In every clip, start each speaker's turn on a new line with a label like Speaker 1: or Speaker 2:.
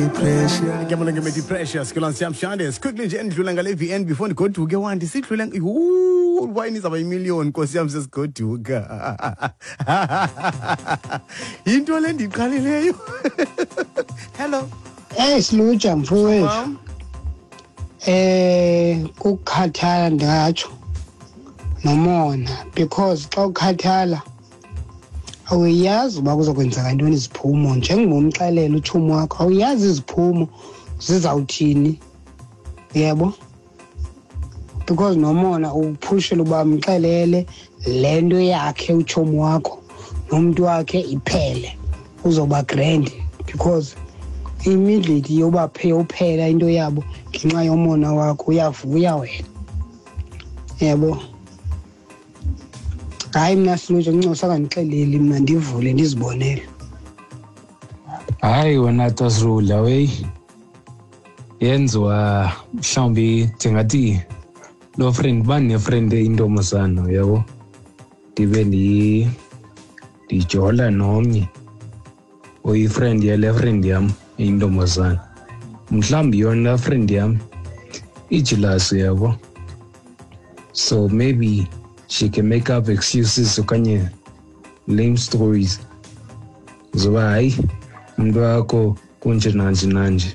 Speaker 1: Ngiyabona nge Precious ke siyamshande quickly nje endlula ngale VN before ndigoduke wandi sidlule yhu wayini izawuba yimiliyoni nkosi yam sesigoduka. Yinto le ndiyiqalileyo. Hello.
Speaker 2: Hey Siluja mfowethu. Kukukhathala ndingatsho nomona because xa ukhathala awuyazi uba kuzokwenzeka ntoni iziphumo. Njengoba umxelela utshomi wakho awuyazi iziphumo zizawuthini, yebo, because nomona ukuphushela uba mxelele le nto yakhe utshomi wakho nomntu wakhe iphele, uzoba grand because immediately yoba uphela into yabo ngenxa yomona wakho uyavuya wena, yebo. Hayi mna Silutsha ncincosa kandixeleli mna ndivule ndizibonele.
Speaker 3: Hayi wena Tasrula wey, yenziwa mhlawumbi ndingathi lo friend uba ndinefriend eyintombazana uyabo, ndibe ndijola nomnye oyifriend yale friend yam eyintombazana, mhlawumbi yona friend yam ijilasi uyabo, so maybe she can make up excuses okanye lame stories zoba hayi umntu wakho kunje nanje nanje,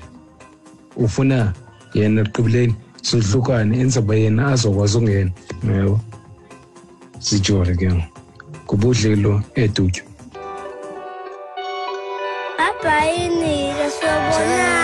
Speaker 3: ufuna yena ekugqibeleni sohlukane enza uba yena azokwazi ungena yabo, sijole ke ngubudlelo edutywa.
Speaker 4: Bye-bye, Nika. Siyabonana.